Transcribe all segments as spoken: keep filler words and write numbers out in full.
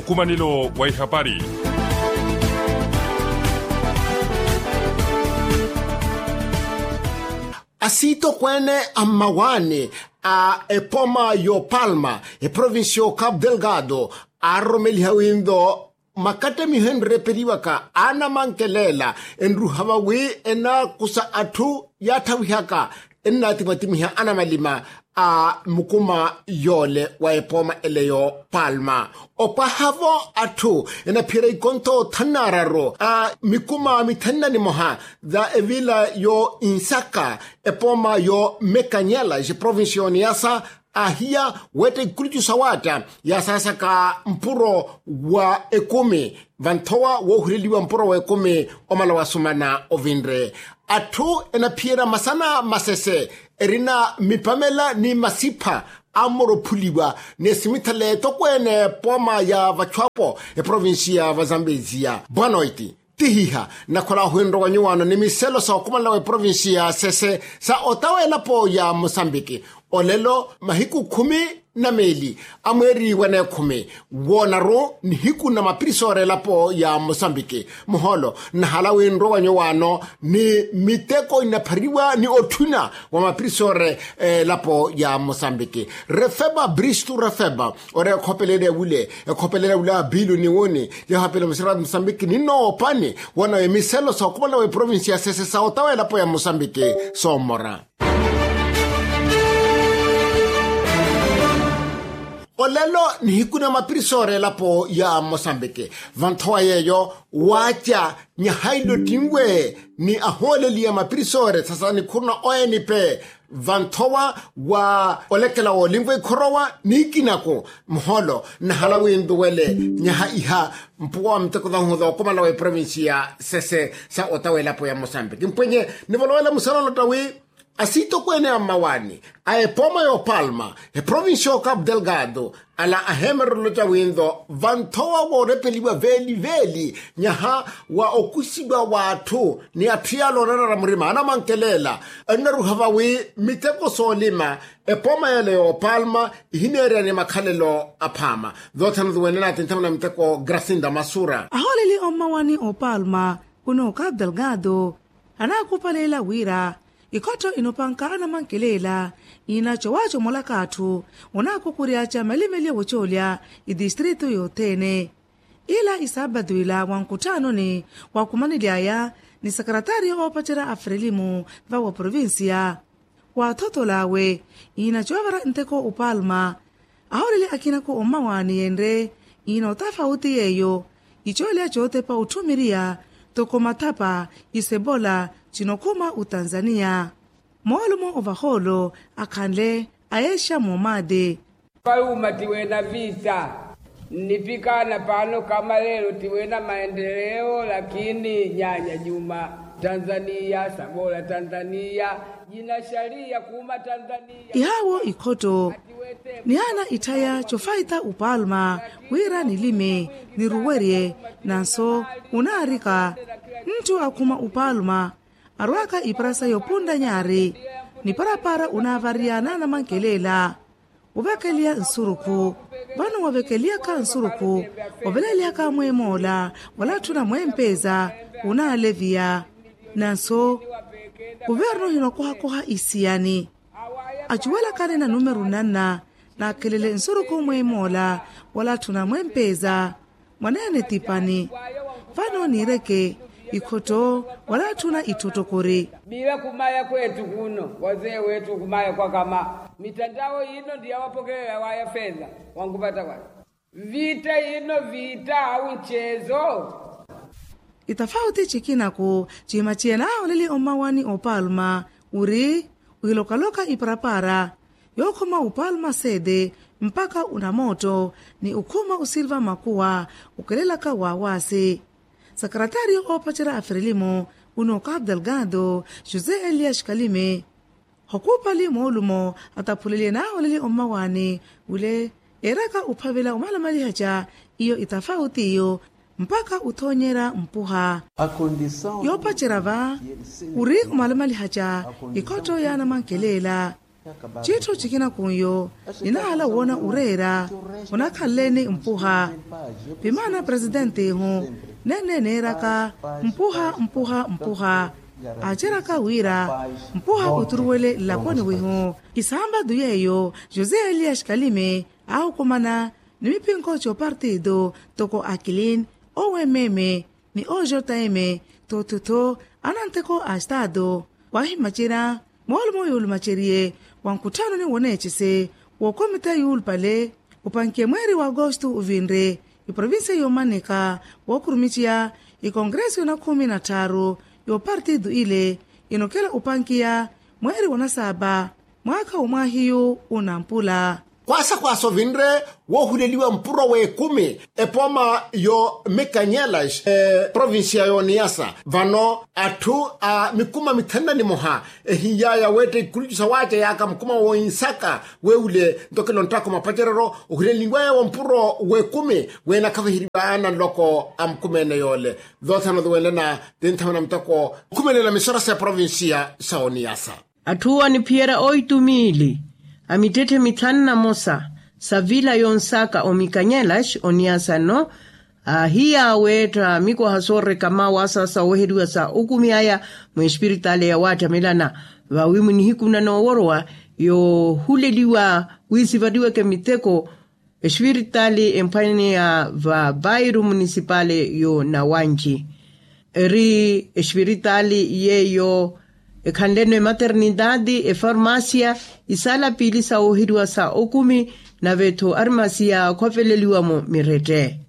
Nkumanelo wa ihapari. Asiitokweene a mmawaani a epooma y'opalma eprovincia y'ocapu delgado aaroromeliha winto makattamiho enrepeliwaka aanamankelela enruha vawi enaakusa atthu yaatthavihaka ennaatimatimiha anamalima a mukuma yoole wa epooma ele y'opalma opwaha-vo atthu enaphiyerya ikontho thanu n'araru a mikuma mithanu na nimoha za evila yo insaka epooma yo mekanyela eprovincia y'oniyasa ahiya weetta ikulucu sawaatta yaasaasaka mpuro wa ekumi vanthowa woohuleliwa mpuro w'ekumi omala wasumana ovinre atthu enaphiyerya masana masese erina mipamela ni masipha ammoroophuliwa ni esimitha leetokweene pooma ya vachwapo eprovincia ya vazambezia bwanoiti tihiha nakhola ohwinrowa nyuwaano ni miselo sa okumanela w'eprovincia ya sese sa otawa elapo ya mosambiki olelo mahiku khumi na meeli a mweeri wa neekhumi woonaru nihiku na mapirisori elapo ya mosambiki muhoolo nnahala winrowa nyuwaano ni miteko inaphariwa ni otthuna wa mapirisori elapo ya mosambiki refeba bristu refeba ori ekhopelele wule ekhopelele wule a bilu ni wuni yahapela musirati mosambiki ninnoopani wanawe miselo sa okumana w'eprovincia ya sese sa otawa elapo ya mosambiki soomora olelo nihiku na mapirisori elapo ya mosambiki vanthowa yeeyo waaca nyahailo tinwe ni ahooleli ya mapirisori sasa nikhuruna oenipe vanthowa wa olekela woolinva ikhorowa ni ikinaku muhoolo nnahala wintuwele nyaha iha mpuwa wa miteko thahu thookomala w'eprovincia sese sa otawa elapo ya mosambiki mpwenye nivolowela musalolotta wi asiitokweene a mmawaani a epooma y'opalma eprovincia y'ocapu delgado ala aheemererelo ca winto vanthowa woorepeliwa veeli veeli nyaha wa okusiwa w'atthu ni atthu yaala oonanara murima anamankelela ennaruha vawi miteko soolima epooma yale y'opalma ihineereya ni makhalelo aphaama thoothana thuwene naatinthana na miteko grasinda masura ahooleli ommawani opalma kuno capu delgado anaakupaleela wira ikhotto inopanka anamankelela iina cowacomolaka atthu onaakukuryaaca malimeli wocoolya itistritu yothene ila isaabatu ila wa nkuttanoni wakumanely'aya ni sakaratari oopacerya a frelimu va wa provincia waathotol'awe iina coovara nteko opalma ahooleli akinaku ommawaani yenre iina otafauti yeeyo icoolya cootepa otthumiriya toko mathapa isebola cinokhuma otanzaniya moolumo ovahoolo akhanle ayeexa moomaati faluuma tiweena vita nnipikana paano kama leelo tiweena maendeleo lakini nyanya nyuma tanzaniya sabola tanzaniya jina shaliya kuuma tanzaniya ihaawo ikhotto nihaana itthaya cofaita opalma wira nilime niruwerye nanso onaarika ntthu akhuma opalma arwaaka iparasa yopuntta nyaari niparapara onaavariya naanamankelela ovekeliya nsurukhu vano wavekeliyaka nsurukhu ovelelihaka mweemoola wala tthuna mweempeeza onaaleviya nanso kuvernu hinokohakoha isiyani acuwelakani na numeru nanna naakhelele nsurukhu mweemoola wala tthuna mweempeeza mwaneene tipani vano niireke ikhotto wala tthuna itthotokori bila khumaya kweettu kuno wazee weettu khumaya kwakama mittantao yino ndiyawapokelela waya feeza wankupatta waya vita yino vita au nceezo itafauti cikinaku cimaciya naaholeli ommawani opalma uri wiilokaloka iparapara yookhuma opalma seede mpakha onamootto ni okhuma osilva makuwa okelelaka waawaasi sakaratari oopacerya a frelimo uno capu delgado josé elias kalime hokuupali moolumo ataphuleliye naaholeli ommawaani wile eeraka ophavela omalamalihaca iyo itafauti iyo mpakha othoonyerya mpuha yoopacerya va ori omalamalihaca ikhotto yaanamankelela Citthu cikina kunyo ninahala woona oreera. Onakhanleeni mpuha. Pimaana presidentihu nenne neeraka mpuha mpuha mpuha. Aaceraka wira mpuha oturuwele nlakoni wihu. Kisampatu yeeyo josé elias kalimi aahukumana ni mipinko copartito toko akilin, owememe ni ojoteme. Tottotho ananteko a estaato wahimacerya moolumo yoolumaceriye wa nkutthano ni woneecese wookomita yuulupale opankiye mweeri wa agosto ovinre iprovincia yoomanika wookurumiceya ikongreso yoona khumi na tthaaru yoopartito ile inokela opankiya mweeri wa nasaapa mwaakha womwaahiyu unampula. Khwaasa khwaasa ovinre woohuleliwa mpuro w'ekumi epooma yo mikanyelas eprovincia y'oniyasa vano atthu a mikuma mithanu na nimoha ehiiyaya weetta ikulucu sawaacayaka mukuma w'oinsaka weewule ntokelo nttako mapacerero ohuleliwaya wo mpuro w'ekumi weenakhaviheriwaya na nloko a mukuma ene yoole. Voothana oduwenlana tinthamana muteko okhumelela misora s'eprovincia sa oniyasa. Atthu aniphiyerya oitumiili a mittetthe mithanu na mosa sa vila yonsaka omikanyelas oniyasa nno aahiya weetta mikwaha soorekama waasasa oweheriwa sa okumi aya mwespiritali yawaattamelana vawi munihiku nanooworowa yoohuleliwa wisivariweke miteko espiritali emphwaniya va bairo munisipali yo nawanji eri espiritali yeeyo ekhanleno ematernitati efarmasia isaala piili sa wooheriwa sa okumi nave-tho armasiya khooveleliwa-mo mirette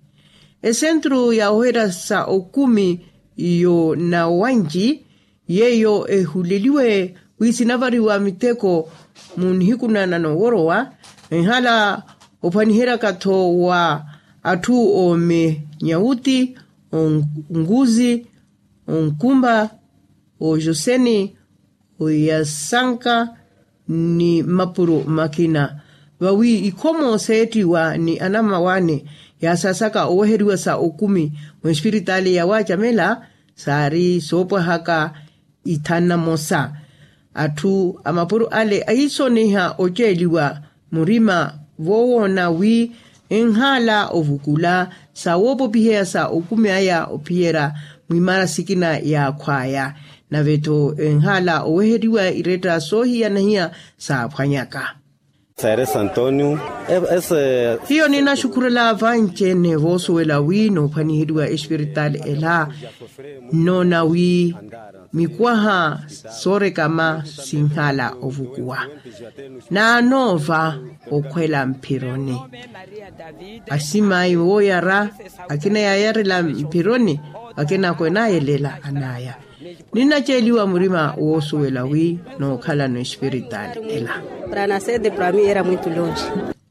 esentru ya wooheriwa sa okumi yo nawanji yeeyo ehuleliwe wiisinavariwa miteko mu nihiku na nanooworowa enhala ophwaniheryaka-tho wa atthu oomenyauti onguzi onkumba ojoseni oyasanka ni mmapuro makina vawi ikhomo seettiwa ni anammawaani yaasasaka oweheriwa sa okumi mwespiritali yawaacamela saari soopwahaka ithanu na mosa. Atthu a mapuro ale ahisoniha oceeliwa murima voowoona wi enhaala ovukula sa woopopiheya sa okumi aya ophiyerya mwimaara sikina yaakhwaya nave-tho enhaala oweheriwa iretta soohiyana-hiya saaphwanyaka. Hiyo ninaxukhurela vanci-ene voosuwela wi noophwaniheriwa espiritali ela nnoona wi mikwaha soorekama sinhala ovukuwa naanoova okhwela mphironi asimayi wooyara akina yaayarela mphironi akina kwenaayelela anaya. Ninnaceeliwa murima woosuwela wi nookhalano espiritali ela. Para nasede para mi era muito longe.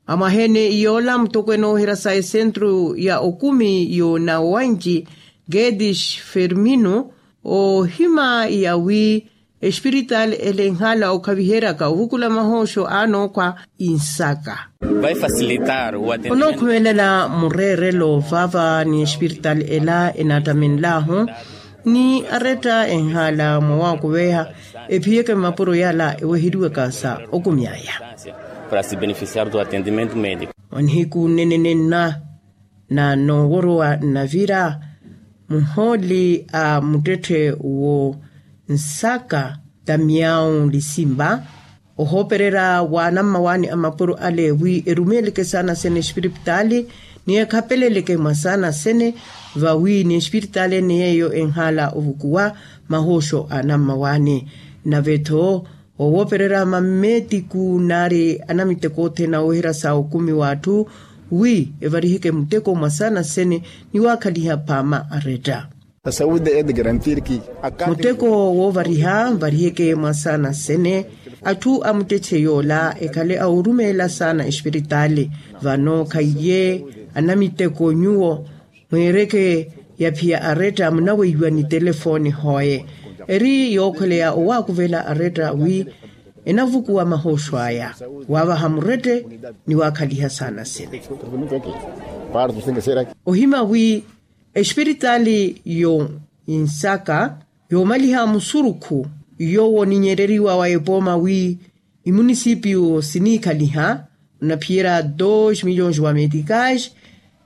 Amwaheene yoola mutokwene oohira sa esentru ya okumi yo nawanji gedish fermino ohima yawi espiritali ela enhala okhaviheryaka ovukula mahoosho anookhwa insaka. Onookhumelela mureerelo vava ni espiritali ela enaattamenlahu ni aretta enhala mwa waakuveha ephiyeke mmapuro yala eweheriwaka sa okumyaya. Para se beneficiar do atendimento medico. Onihiku nnene nenna na nooworowa nnavira muhooli a muttetthe wo nsaka tamiyau lisimba ohoopererya wa anammawaani a mapuro ale wi erumeeleke saana sene espiripitaali ni ekhapeleleke mwa saana sene vawi ni espiritaali ene yeeyo enhaala ovukuwa mahoosho a anammawaani nave-tho owoopererya mammeetiku nari anamiteko othene aweherya sa okumi w'atthu wi evariheke muteko mwa saana sene ni waakhaliha phaama aretta. Muteko woovariha nvariheke mwa saana sene atthu a muttetthe yoola ekhale a orumeela saana espiritaali. Vano khaiye anamiteko nyuwo mweereke yaphiya aretta munaweiwa ni telefooni hooye eri yookhweleya owaakuvela aretta wi enavukuwa mahooxo aya waavaha murette ni waakhaliha saana sene. Ohima wi espiritaali yo insaka yoomaliha musurukhu yowo oninyereriwa wa epooma wi Imunisipiyu siniikhaliha onaphiyerya dos milhões wa meticais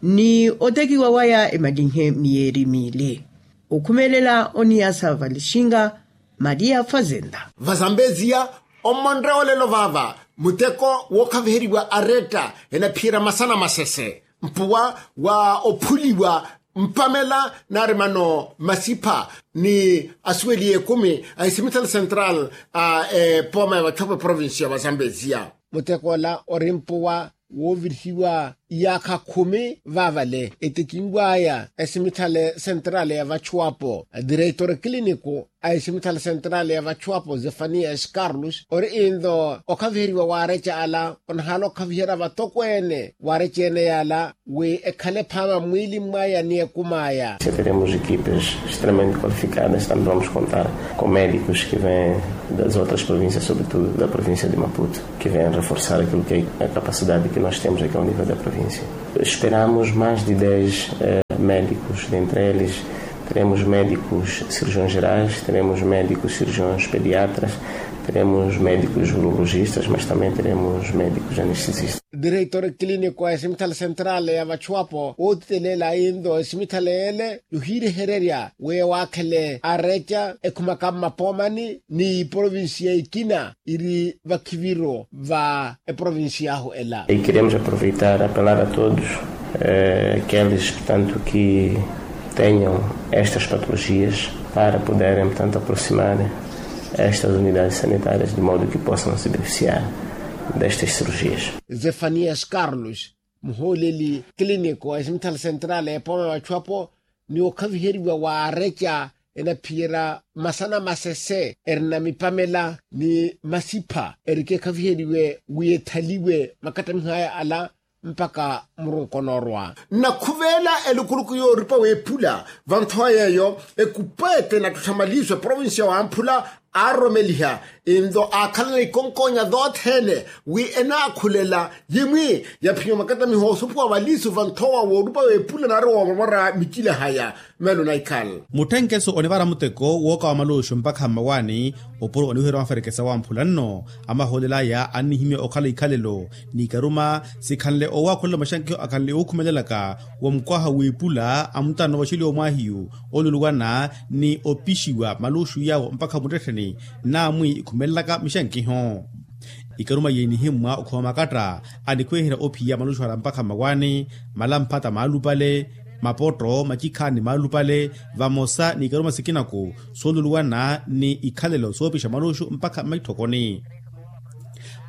ni otekiwa waya emalinhe miyeeri miili. Okhumelela oniyasa valixinga maria fazenda. Vazambeziya, ommonre olelo vaava muteko wookhaviheriwa aretta enaphiyerya masana masese mpuwa wa ophuliwa mpamela nari mano masipha ni asuweli ekumi a isimitali central a epooma ya vatthopo eprovincia ya vazambeziya. Muteko ola ori mpuwa woovirihiwa iyaakha khumi vaavale etekinw'aya esimitali central ya vachuwapo. Direitor clínico a esimitali central ya vachuwapo zefanias carlos ori into okhaviheriwa waareca ala onahala okhaviherya vatokweene waareca ene yaala wi ekhale phaama mwiili mwaya ni ekum'aya. Teremos equipas extremamente qualificadas também vamos contar com médicos que vêm das outras províncias sobretudo da província de maputo, que vêm reforçar aquilo que é a capacidade que nós temos aqui ao nível da província. Esperamos mais de dez médicos, dentre eles teremos médicos cirurgiões gerais, teremos médicos cirurgiões pediatras, teremos médicos urologistas mas também teremos médicos anestesistas. Direitor clínico a esimitali central ya vachuwapo wootiteleela into esimitali ele yohiirehererya wi waakhele areca ekhumaka mmapoomani ni iprovincia ikina iri vakhiviro va eprovincia ahu ela. Queremos aproveitar apelar a todos aqueles portanto que tenham estas patologias para poderem portanto aproximar estas unidades sanitárias de modo que possam se beneficiar destas cirurgias. Zefanias carlos muhooleli clínico a esimitali central epooma ya vachuwapo ni okhaviheriwa wa areca enaphiyerya masana masese erina mipamela ni masipha erikekhaviheriwe wi ethaliwe makattamiho aya ala mpakha murunkono orwa. Nnakhuveela elukuluku yooripa w'ephula vanthowa yeeyo ekupa ete enattuttha maliiso eprovincia wamphula aaroromeliha into aakhalana ikonkoonya thoothene wi enaakhulela yimwi yaphiwa makattamiho osupuwa maliiso vanthowa wooripa w'ephula nari woomoromora michilahaya. Melo naikhala mutthenkeso onivara muteko wookawa maluxu mpakha mmawaani opuro oniwiheriwa maferekesa wamphula nno amahoolel'aya annihimya okhala ikhalelo n'ikaruma sikhanle owaakhulela maxankiho akhanle ookhumelelaka womukwaha w'ipula a mutano vaxeliwa omwaahiyu oluluwana ni opixiwa maluxu yawo mpakha muttettheni naamwi ikhumelelaka mixankiho. Ikaruma yeenihimmwa okhuma makatta anikhweherya ophiya maluxu ala mpakha mmawaani malamphata maalupale mapotto macikhaani maalupale vamosa n'ikaruma sikinaku sooluluwana ni ikhalelo soopixa maluxu mpakha mmaitthokoni.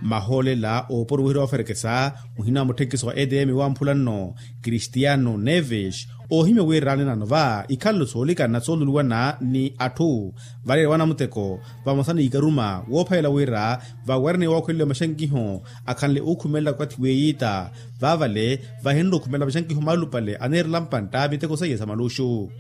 Mahoolela ooporo wihira waferekesa muhina wa mutthenkiso wa edm wamphula nno kristiano neves oohimya wira anenano va ikhalelo soolikana sooluluwana ni atthu valeerya wa namuteko vamosa n'ikaruma woophayela wira vawerene wookhweleliwa maxankiho akhanle ookhumelela okathi weiita vaavale vahinre okhumelela maxankiho maalupale aneerela mpantta miteko seiya sa maluxu.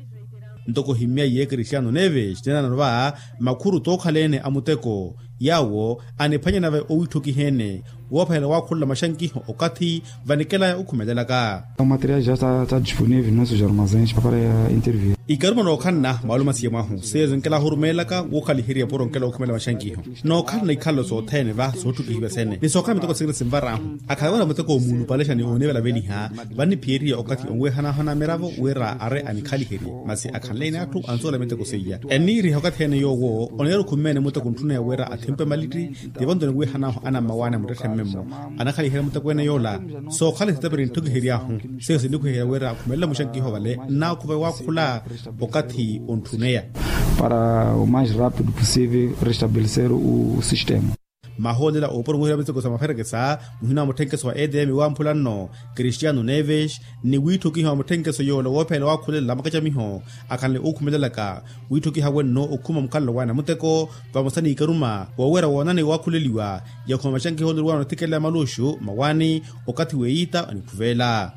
Ntoko ohimmya iye kristiano neves nenano va makhuru tookhaleene a muteko yaawo aniphwanyana va owiitthokiheene woophayela waakholola maxankiho okathi vanikelaya okhumelelaka. Material ja está disponível nos armazéns para intervir. Ikaruma nookhanna mwaalumasiye mwahu seiya zinkela ahurumeelaka wookhaliherya puro nkela okhumela maxankiho nookhalana ikhalelo sothene va sootthukihiwa sene ni sookhala miteko sikina sinvar'ahu akhala wira muteko omuulupalexa ni oonivelaveliha vanniphiyeriya okathi onwihanahana miravo wira ari anikhaliherye masi akhanleene atthu ansuwela miteko seiya enniiriha okathi ene yoowo oneera okhumeene muteko ntthuneya wira athimpe malitti tivo nto niwihanaahu anammawaani a muttetthe mmemmo anakhaliherya muteko ene yoola sookhala sitapiri ntthukihery'ahu seiyo sinnikhwiherya wira akhumelela muxankiho vale nnaakhuva waakhula okathi ontthuneya. Para o mais rápido possível restabelecer o sistema. Mahoolela ooporo muhira miteko sa maferekesa muhina wa mutthenkeso wa edm wamphula nno kristiano neves ni wiitthokiha wa mutthenkeso yoola woophela waakhulelela makacamiho akhanle ookhumelelaka wiitthokiha wenno okhuma mukhalelo waaya namuteko vamosa n'ikaruma woowera woonani waakhuleliwa yakhuma maxankiho oluluwana othikela ya maluxu mawaani okathi weiita anikhuveela.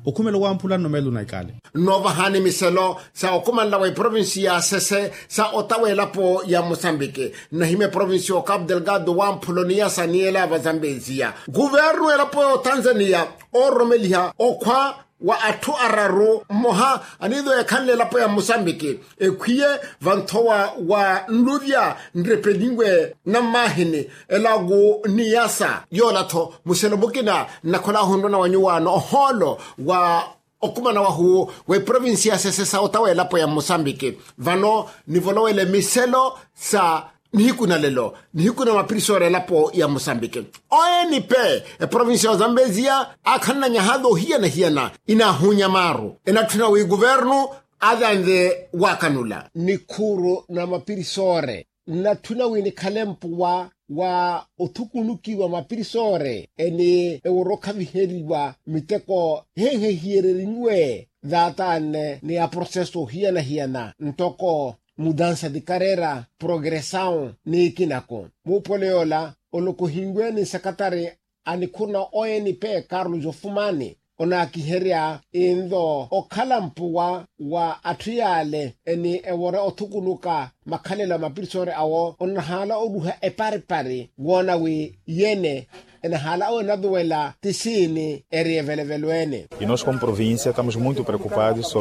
Okhumelo wamphula nno meelo naikale. Nnoovahani miselo sa okhumanela wa eprovinsi ya sese sa otawa elapo ya mosambiki nnahimya eprovinsi ya okapu delgado wamphulo ni ya saniela vazambeziya guvernu elapo ya otanzaniya oororomeliha okhwa wa atthu araru mmoha aniizo ekhanle elapo ya musambiki ekhwiye vanthowa wa nluvya nrepelinwe na mmahini elagu ni yasa. Yoola-tho muselo mukina nnakhola ohunrwana wa nyuwaano ohoolo wa okumana wahu w'eprovinsi ya sesesa otawa elapo ya musambiki. Vano nivolowele miselo sa nihiku na lelo nihiku na mapirisori elapo ya musambiki. Oeni pe eprovinsi ya ozambeziya aakhananyaha voohiyana-hiyana inaahunya maaru enatthuna wi kuvernu atanve waakanula nikhuuru na mapirisori nnatthuna wi nikhale mpuwa wa othukunukiwa mapirisori eni eworo okhaviheriwa miteko henhehiyereriwe. Vaatanne ni aproseso ohiyana-hiyana ntoko mudansa di karera progressao ni ikinako. Muupole yoola olokohinwe ni nsekatari a nikhuru na oeni pe carlos ofumani onaakiherya inlo okhala mpuwa wa atthu yaale eni ewora othukunuka makhalelo a mapirisori awo onahaala oruha eparipari woona wi yene enahaala owenaluwela ti siini eri evelevelo ene. E nos como provincia estamos muito preocupados sobre